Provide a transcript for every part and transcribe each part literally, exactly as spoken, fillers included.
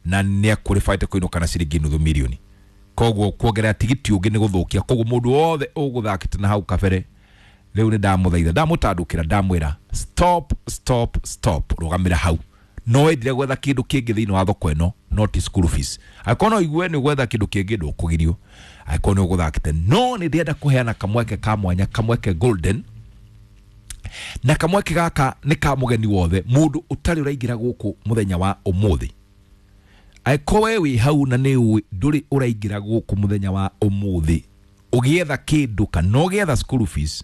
Na nĩ aqualified kũinũka na ciringi nuthu milioni. Koguo kuongerera tigiti ũngĩ nĩ gũthũkia. Koguo mũndũ wothe ũgũthakĩte na hau kabere rĩu nĩ ndamũthaitha, ndamũtandũkĩra, ndamwĩra stop, stop, stop, rũgamĩra hau. No wendire gwetha kĩndũ kĩngĩ thĩinĩ wa thoko ĩno, no ti school fees. Angĩkorwo no igue nĩ gwetha kĩndũ kĩngĩ, ndũkũgirio angĩkorwo nĩ ũgũthakĩte. No nĩ ndĩrenda kũheana kamweke ka mwanya, kamweke golden, na kamweke gaka nĩ ka mũgeni wothe, mũndũ ũtarĩ ũraingĩra gũkũ mũthenya wa ũmũthĩ. Angĩkorwo we wĩ hau na nĩ ũĩ ndũrĩ ũraingĩra gũkũ mũthenya wa ũmũthĩ ũgĩetha kĩndũ kana ũgĩetha school fees,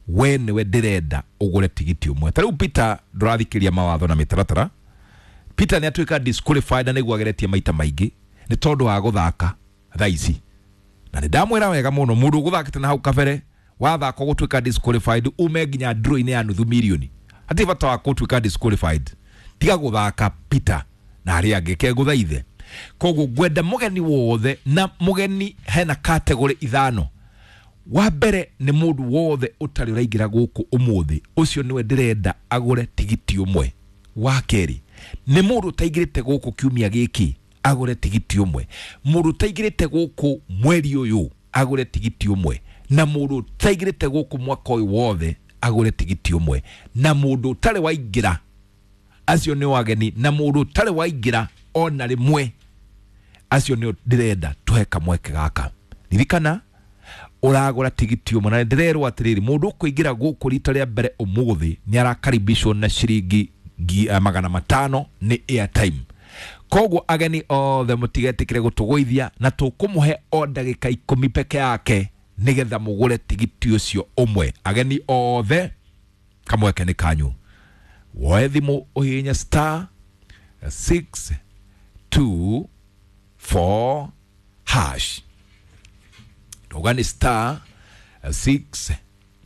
we nĩwe ndĩrenda ũgũre tigiti ũmwe. Ta rĩu Peter ndũrathikĩria mawatho na mĩtaratara. Peter nĩ atuĩka disqualified na nĩguo ageretie maita maingĩ nĩ tondũ wa gũthaka thaa ici. Na nĩ ndamwĩra wega mũno, mũndũ ũgũthakĩte na hau kabere wathaka gũtuĩka disqualified ume nginya draw-inĩ ya nuthu milioni, hatirĩ bata wa gũtuĩka disqualified. Tiga gũthaka, Peter, na arĩa angĩ kegũthaithe. Koguo ngwenda mũgeni wothe, na mũgeni hena category ithano. Wa mbere nĩ mũndũ wothe ũtarĩ ũraingĩra gũkũ ũmũthĩ, ũcio nĩwe ndĩrenda agũre tigiti ũmwe. Wa kerĩ nĩ mũndũ ũtaingĩrĩte gũkũ kiumia gĩkĩ agũre tigiti ũmwe, mũndũ ũtaingĩrĩte gũkũ mweri ũyũ agũre tigiti ũmwe, na mũndũ ũtaingĩrĩte gũkũ mwaka ũyũ wothe agũre tigiti ũmwe, na mũndũ ũtarĩ waingĩra, acio nĩ wageni, na mũndũ ũtarĩ waingĩra ona rĩmwe, acio nĩo ndĩrenda tũhe kamweke gaka. Ririkana ũragũra tigiti ũmwe, na ndĩrerwo atĩrĩrĩ, mũndũ ũkũingĩra gũkũ rita rĩa mbere ũmũthĩ nĩ arakaribishwo na ciringi ngi- eh, magana matano nĩ airtime. Koguo ageni othe mũtigetĩkĩre gũtũgũithia, na tũkũmũhe o ndagĩka ikũmi peke yake nĩgetha mũgũre tigiti ũcio ũmwe. Ageni othe, kamweke nĩ kanyu. Woe thimũ ũhihinye star six two four hash. Ndauga nĩ star six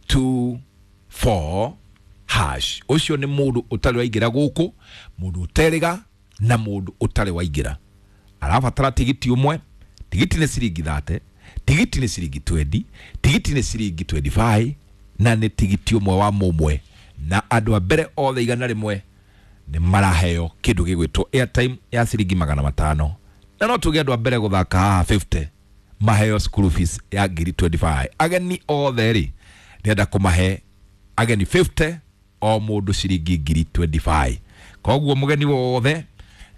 two four hash. Ũcio nĩ mũndũ ũtarĩ waingĩra gũkũ, mũndũ ũterĩga na mũndũ ũtarĩ waingĩra arabatara tigiti ũmwe. Tigiti nĩ ciringi thirty, tigiti nĩ ciringi twenty, tigiti nĩ ciringi twenty-five, na nĩ tigiti ũmwe wa mũmwe. Na andũ a mbere othe igana rĩmwe nĩ maraheo kĩndũ gĩgwĩtwo airtime ya ciringi magana matano. Na no tuge andũ a mbere gũthaka haha fifty maheo school fees ya ngiri twenty-five. Ageni othe rĩ, ndĩrenda kũmahe ageni fifty o mũndũ ciringi ngiri twenty-five. Koguo mũgeni wothe,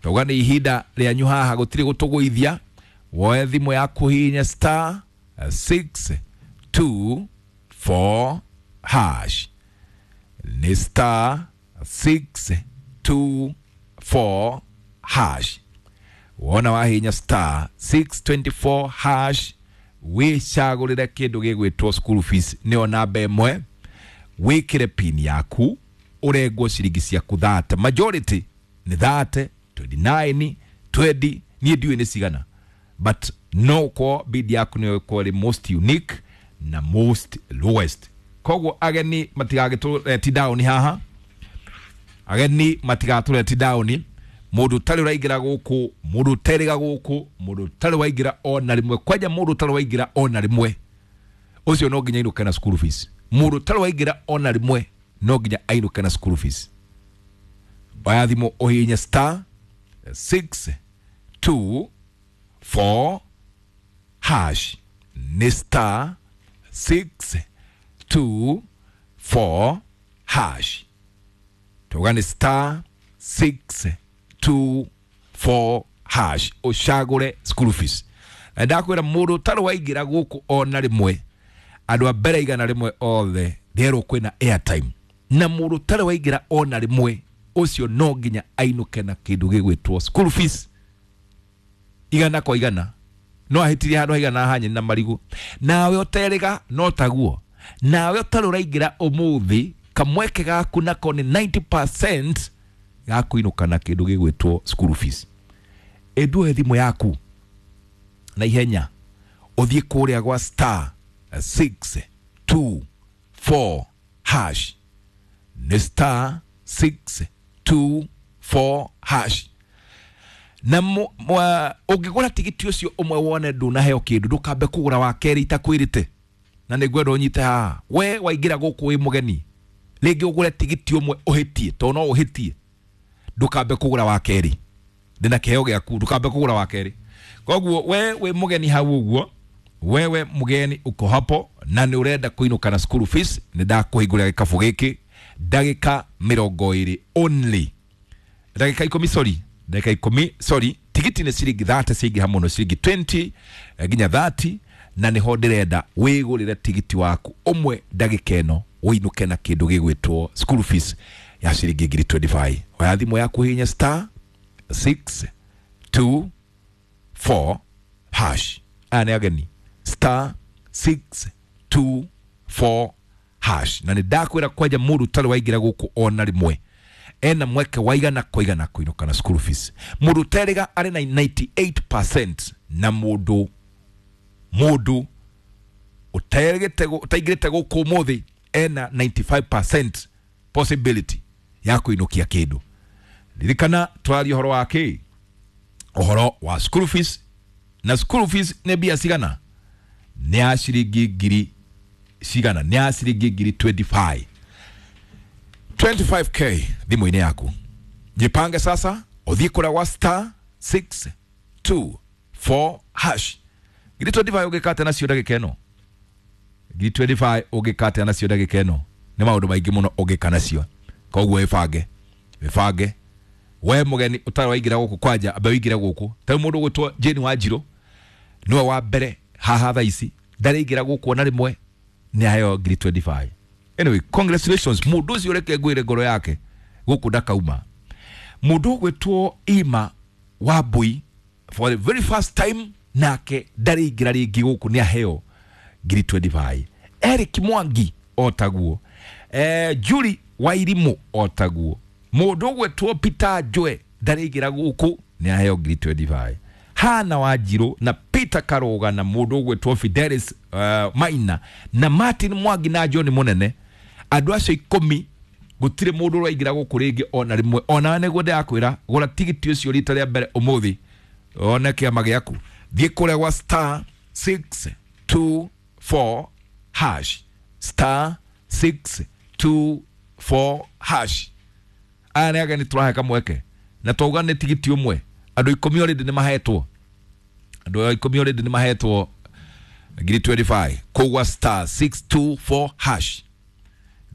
tauga nĩ ihinda rĩanyu haha, gũtirĩ gũtũgũithia. Woe thimũ yaku hihinya star six two four hash. Nĩ star six two four hash. Wona wahinya star six twenty-four hash, wĩcagũrĩre kĩndũ gĩgwĩtwo school fees, nĩyo namba ĩmwe, wĩkĩre pin yaku, ũrengwo ciringi ciaku thirty. Majority nĩ thirty, twenty-nine, twenty, niĩ ndiũĩ nĩ cigana, but no ũkorwo bid yaku nĩyo ĩkorwo ĩrĩ most unique na most lowest. Koguo ageni matigagĩtũreti down haha, ageni matigatũreti down. Mũndũ ũtarĩ ũraingĩra gũkũ, mũndũ ũterĩga gũkũ, mũndũ ũtarĩ waingĩra ona rĩmwe, kwanja mũndũ ũtarĩ waingĩra ona rĩmwe, ũcio no nginya ainũke na school fees. Mũndũ ũtarĩ waingĩra ona rĩmwe no nginya ainũke na school fees. Oya thimũ ũhihinye star six two four hash. Nĩ star six two four hash. Tuga nĩ star six two four hash, ũcagũre school fees. Na ndakwĩra mũndũ ũtarĩ waingĩra gũkũ ona rĩmwe, andũ a mbere igana rĩmwe othe nderwo kwĩna airtime, na mũndũ ũtarĩ waingĩra ona rĩmwe ũcio no nginya ainũke na kĩndũ gĩgwĩtwo school fees igana kwa igana. No ahĩtirie handũ haigana ha nyeni na marigũ. Nawe ũterĩga no taguo, nawe ũtarĩ ũraingĩra ũmũthĩ, kamweke gaku nako nĩ ninety percent gakuinũka na kĩndũ gĩgwĩtwo school fees. Ĩnduoe thimũ yaku na ihenya ũthiĩ kũrĩa gwa star six two four hash. Nĩ star six two four hash. Na mu-, mwa-, ũngĩgũra tigiti ũcio ũmwe wone ndũnaheo kĩndũ, ndũkambe kũgũra wa kerĩ itakwĩrĩte. Na nĩ ngwenda ũnyite haha, we waingĩra gũkũ wĩ mũgeni, rĩngĩ ũgũre tigiti ũmwe ũhĩtie, tondũ no ũhĩtie, ndũkambe kũgũra wa kerĩ, Ndĩna kĩheo gĩaku, ndũkambe kũgũra wa kerĩ. Koguo we wĩ mũgeni hau ũguo, wewe mgeni uko hapo na nĩ ũrenda kũinũka na school fees, nĩ ndakũhingũrĩra gĩkabũ gĩkĩ ndagĩka mĩrongo ĩrĩ only, ndagĩka ikũmi, sorry, ndagĩka ikũmi, sorry. Tigiti nĩ ciringi thate, ciaingĩha mũno ciringi mĩrongo ĩrĩ eh, nginya thate, na nĩho ndĩrenda wĩgũrĩre tigiti waku ũmwe ndagĩka ĩno, ũinũke na kĩndũ gĩgwĩtwo school fees ya ciringi ngiri mĩrongo ĩrĩ na ithano. Oya thimũ yaku, hihinya star six two four hash. Aya nĩ ageni, star six two four hash. Na nĩ ndakwĩra kwanja mũndũ ũtarĩ waingĩra gũkũ ona rĩmwe ena mweke wa igana kwa igana kũinũka na school fees. Mũndũ ũterĩga arĩ na mĩrongo kenda na kenda na mũndũ mũndũ ũterĩgĩte ũtaingĩrĩte gũkũ ũmũthĩ ena mĩrongo kenda na ithano possibility ya kũinũkia kĩndũ. Ririkana tũraria ũhoro wa kĩ? Ũhoro wa school fees. Na school fees nĩ mbia cigana? Nĩ ya ciringi ngiri cigana? Nĩ ya ciringi ngiri mĩrongo ĩrĩ na ithano, mĩrongo ĩrĩ na ithano k thimũ-inĩ yaku. Jipange sasa, ũthiĩ kũrĩa gwa star six two four hash. Ngiri mĩrongo ĩrĩ na ithano ũngĩka atĩa nacio ndagĩka ĩno? Ngiri mĩrongo ĩrĩ na ithano ũngĩka atĩa nacio ndagĩka ĩno? Nĩ maũndũ maingĩ mũno ũngĩka nacio. Koguo ĩbange, ĩbange we mũgeni ũtarĩ waingĩra gũkũ, kwanja ambe ũingĩre gũkũ. Ta rĩu mũndũ ũgwĩtwo Jane Wanjirũ nĩwe wa mbere haha thaa ici, ndarĩingĩra gũkũ ona rĩmwe, nĩ aheo ngiri mĩrongo ĩrĩ na ithano. Anyway, congratulations mũndũ ũcio. Reke ngwĩre, ngoro yake gũkũ ndakauma. Mũndũ ũgwĩtwo Ima Wambui, for the very first time, nake ndarĩingĩra rĩngĩ gũkũ, nĩ aheo ngiri mĩrongo ĩrĩ na ithano. Eric Mwangi o taguo, eh, Julie Wairimu o taguo. Mũndũ ũgwĩtwo Peter Njue ndarĩingĩra gũkũ, nĩ aheo ngiri mĩrongo ĩrĩ na ithano. Hana Wanjirũ na Peter Karoga na mũndũ ũgwĩtwo Fidelis uh, Maina na Martin Mwangi na John Mũnene, andũ acio ikũmi gũtirĩ mũndũ ũraingĩra gũkũ rĩngĩ ona rĩmwe. Ona nĩguo ndĩrakwĩra, gũra tigiti ũcio rita rĩa mbere ũmũthĩ, one kĩama gĩaku. Thiĩ kũrĩa gwa star six two four hash, star six two four hash. Aya nĩ ageni tũrahe kamweke, na twauga nĩ tigiti ũmwe. Andũ ikũmi already nĩ mahetwo, andũ ikũmi already nĩ mahetwo ngiri mĩrongo ĩrĩ na ithano kũgwa star six two four hash.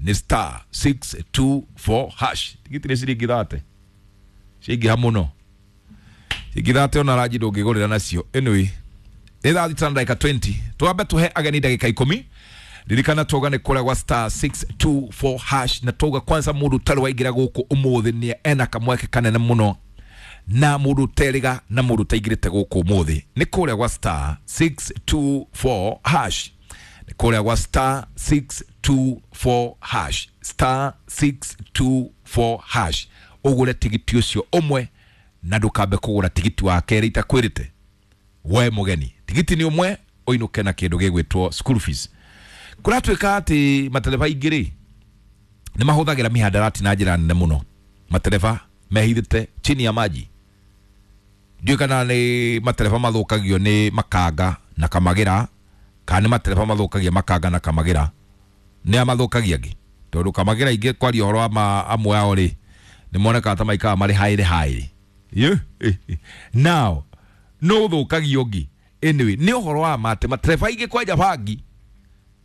Nĩ star six two four hash. Tigiti nĩ ciringi thate, ciaingĩha mũno, ciringi thate ona ranji ndũngĩgũrĩra nacio. Anyway, nĩ thaa thita na ndagĩka mĩrongo ĩrĩ. Twambe tũhe ageni ndagĩka ikũmi. Ririkana twauga nĩ kũrĩa gwa star six two four hash, na twauga kwanza mũndũ ũtarĩ waingĩra gũkũ ũmũthĩ nĩ ena kamweke kanene mũno, na mũndũ ũterĩga na mũndũ ũtaingĩrĩte gũkũ ũmũthĩ nĩ kũrĩa gwa star six two four hash, nĩ kũrĩa gwa star six two four hash, star six two four hash, ũgũre tigiti ũcio ũmwe na ndũkambe kũgũra tigiti wa kerĩ itakwĩrĩte. We mũgeni, tigiti nĩ ũmwe, ũinũke na kĩndũ gĩgwĩtwo school fees. Kũratuĩka atĩ matereba aingĩ rĩ nĩ mahũthagĩra mihadarati na njĩra nene mũno. Matereba mehithĩte chini ya maji. Ndiũĩ kana nĩ matereba mathũkagio nĩ makanga na kamagĩra, kana nĩ matereba mathũkagia makanga na kamagĩra. Nĩ a mathũkagia angĩ, tondũ kamagĩra ingĩ, kwaria ũhoro wa ma amwe ao rĩ, nĩ monekaga ta maikaraga marĩ haĩrĩ haĩrĩ. Now no ũthũkagia ũngĩ. Anyway, nĩ ũhoro wa ma atĩ matereba aingĩ kwanja bangi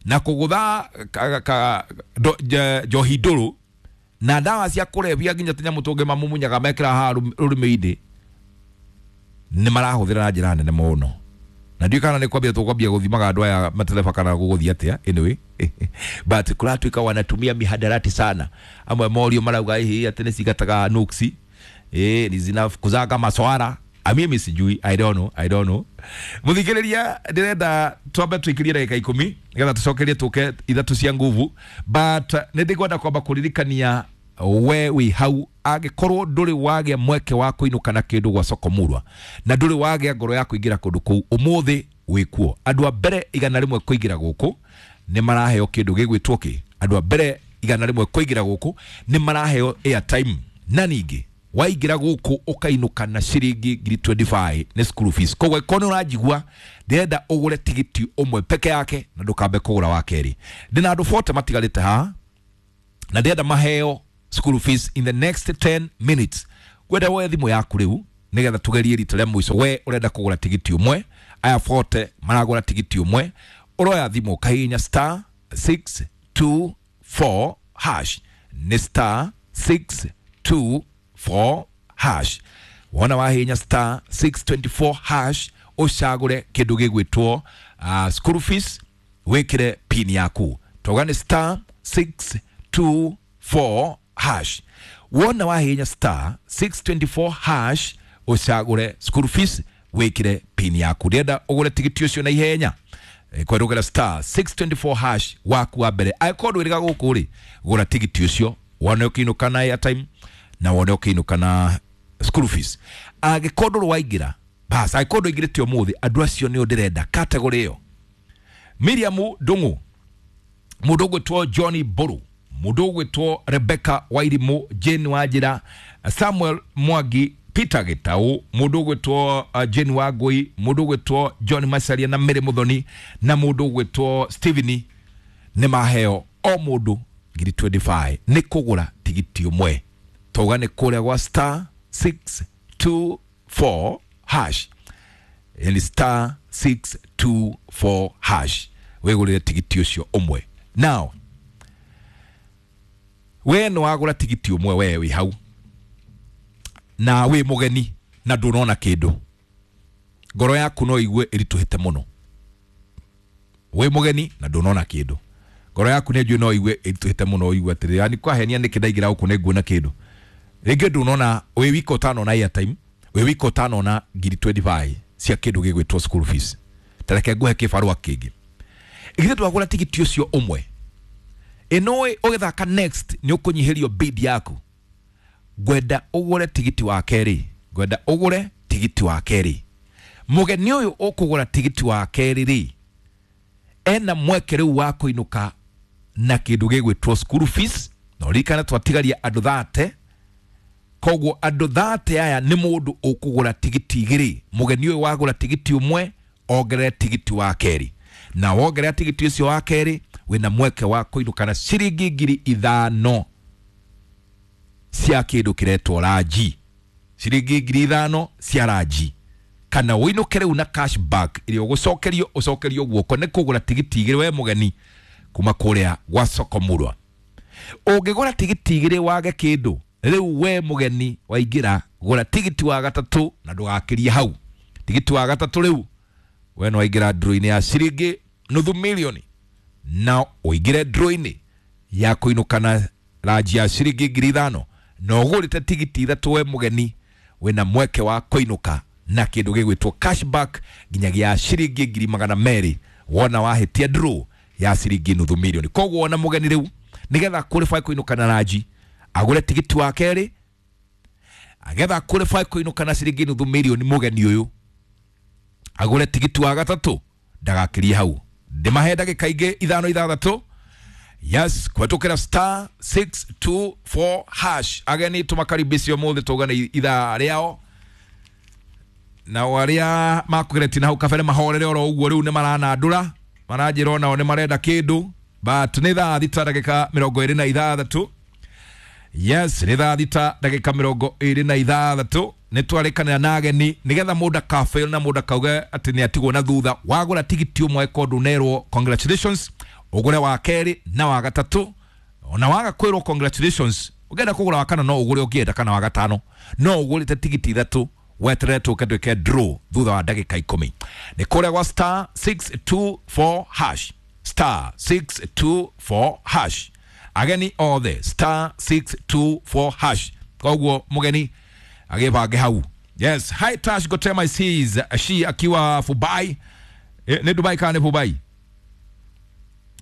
na kũgũtha ka- ka- ndo- nje- njohi ndũrũ na ndawa cia kũrebia, nginya tũnyamũ tũngĩ mamumunyaga mekĩra haha rũrĩmĩ-inĩ, nĩ marahũthĩra na njĩra nene mũno. Na ndiũĩ kana nĩ kwambia tũkwambia gũthimaga andũ aya matereba kana gũgũthiĩ atĩa. Anyway, but kũratuĩka wanatumia mihadarati sana. Amwe morio marauga hihi atĩ nĩ cigataga nuksi, eh ni zinafukuzaga maswara. Mimi sijui, I don't know, I don't know. Muthikiriria, ndĩrenda twambe tũikirie ndagĩka ikũmi nĩgetha tũcokerie tũke ithatũ cia nguvu, but nĩ ndĩkwenda kwamba kũririkania we wĩ hau, angĩkorwo ndũrĩ wagĩa mweke wa kũinũka na kĩndũ gwa soko murwa na ndũrĩ wagĩa ngoro ya kũingĩra kũndũ kũu, ũmũthĩ wĩkuo. Andũ a mbere igana rĩmwe kũingĩra gũkũ nĩ maraheo kĩndũ gĩgwĩtwo kĩ? Andũ a mbere igana rĩmwe kũingĩra gũkũ nĩ maraheo airtime, na ningĩ waingĩra gũkũ ũkainũka na ciringi ngiri mĩrongo ĩrĩ na ithano, nĩ school fees. Koguo ĩkorwo nĩ ũranjigua, ndĩrenda ũgũre tigiti ũmwe peke yake na ndũkambe kũgũra wa kerĩ. Ndĩna andũ mĩrongo ĩna matigarĩte haha na ndĩrenda maheo school fees in the next ten minutes. Kwenda woe thimũ yaku rĩu. nigetha tugerie rita rĩa mũico. We ũrenda kũgũra tigiti ũmwe, aya forty maragũra tigiti ũmwe, ũroya thimũ ũkahihinya star six two four hash, nĩ star six two four hash. Wona wahihinya star six twenty four hash, ũcagũre kĩndũ gĩgwĩtwo uh, school fees, wĩkĩre pin yaku. Toga nĩ star six two four hash. Wona wahihinya star six twenty four hash, ũcagũre school fees, wĩkĩre pin yaku. Ndĩrenda ũgũre tigiti ũcio na ihenya kwerũgera star six twenty four hash waku wa mbere. Angĩkorwo ndwĩrĩga gũkũ rĩ, gũra tigiti ũcio wone ũkĩinũka na airtime na wone ũkĩinũka na school fees. Angĩkorwo ndũrĩ waingĩra, bas, angĩkorwo ndũingĩrĩte ũmũthĩ, andũ acio nĩo ndĩrenda category ĩyo. Miriam Ndung'u, mũndũ ũgwĩtwo Johnny Mbũrũ, mũndũ ũgwĩtwo Rebecca Wairimũ, Jane Wanjĩra, Samuel Mwangi, Peter Gitau, mũndũ ũgwĩtwo uh, Jane Wangui, mũndũ ũgwĩtwo John Macharia na Mary Muthoni, na mũndũ ũgwĩtwo Steven nĩ maheo o mũndũ ngiri twenty five nĩ kũgũra tigiti ũmwe. Tauga nĩ kũrĩa gwa star six two four hash, yani star six two four hash, wĩgũrĩre tigiti ũcio ũmwe. Now we nĩ wagũra tigiti ũmwe, we wĩ hau na wĩ mũgeni na ndũnona kĩndũ, ngoro yaku no igue ĩritũhĩte mũno. Wĩ mũgeni na ndũnona kĩndũ, ngoro yaku nĩ njũĩ no igue ĩritũhĩte mũno, ũigue atĩrĩ, yani kwahenia nĩkĩ ndaingĩra gũkũ nĩ nguona kĩndũ. Rĩngĩ ndũnona, wĩ wika ũtanona airtime, wĩ wika ũtanona ngiri twenty five cia kĩndũ gĩgwĩtwo school fees. Ta reke ngũhe kĩbarũa kĩngĩ. Githĩ ndwagũra tigiti ũcio ũmwe, ĩnũĩ ũgĩthaka next nĩ ũkũnyihĩrio bid yaku. Ngwenda ũgũre tigiti wa kerĩ, ngwenda ũgũre tigiti wa kerĩ. Mũgeni ũyũ ũkũgũra tigiti wa kerĩ rĩ, ena mweke rĩu wa kũinũka na kĩndũ gĩgwĩtwo school fees. Na ũririkane twatigaria andũ thate, koguo andũ thate aya nĩ mũndũ ũkũgũra tigiti igĩrĩ. Mũgeni ũyũ wagũra tigiti ũmwe, ongerere tigiti wa kerĩ, na wongerera tigiti ũcio wa kerĩ, wĩna mweke wa kũinũka na ciringi ngiri ithano cia kĩndũ kĩretwo ranji, ciringi ngiri ithano cia ranji, kana ũinũke rĩu na cashback ĩrĩa ũgũcokerio, ũcokerio guoko nĩ kũgũra tigiti igĩrĩ we mũgeni kuma kũrĩa gwa Soko Murwa. Ũngĩgũra tigiti igĩrĩ wage kĩndũ, rĩu we mũgeni waingĩra, gũra tigiti wa gatatũ na ndũgakĩrie hau. Tigiti wa gatatũ rĩu we nĩ waingĩra draw-inĩ ya ciringi nuthu milioni, na ũingĩre draw-inĩ ya kũinũka na ranji ya ciringi ngiri ithano, na ũgũrĩte tigiti ithatũ we mũgeni, wĩna mweke wa kũinũka na kĩndũ gĩgwĩtwo cashback nginyagia ciringi ngiri magana merĩ wona wahĩtia draw ya ciringi nuthu milioni. Koguo wona mũgeni rĩu nĩgetha qualify kũinũka na ranji, agũre tigiti wa kerĩ, agetha qualify kũinũka na ciringi nuthu milioni, mũgeni ũyũ agũre tigiti wa gatatũ, ndagakĩrie hau. Ndĩmahe ndagĩka ingĩ ithano ithathatũ. Yes, kũhetũkĩra star six two four hash. Ageni tũmakaribishe ũmũthĩ, tũgane ithaa rĩao, nao arĩa makũgeretie na hau kabere mahorere oro ũguo, rĩu nĩ maranandũra, maranjĩra onao nĩ marenda kĩndũ, but nĩ thaa thita ndagĩka mĩrongo ĩrĩ na ithathatũ. Yes, nĩ thaa thita ndagĩka mĩrongo ĩrĩ na ithathatũ. Nĩ twarĩkanĩra na ageni nĩgetha mũndũ akafail na mũndũ akauge atĩ nĩ atigwo na thutha. Wagũra tigiti ũmwe ko ndũnerwo congratulations, ũgũre wa kerĩ na wa gatatũ. Ona waga kwĩrwo congratulations, ũngĩenda kũgũra wa kana no ũgũre, ũngĩenda kana wa gatano no ũgũrĩte tigiti ithatũ, weterere tũke twĩke draw thutha wa ndagĩka ikũmi. Nĩ kũrĩa gwa star six two four hash, star six two four hash. Ageni othe star six two four hash. Koguo mũgeni agĩbange hau. Yes, hi Tash Gotema sees she akiwa Fubai. E, ni Dubai kana ni Fubai?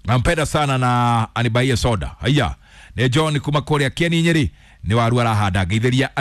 Nampenda sana na anibaie soda. Haya, ni John kuma kũrĩa Kieni Nyeri, ni waru arahanda. Ngeithĩria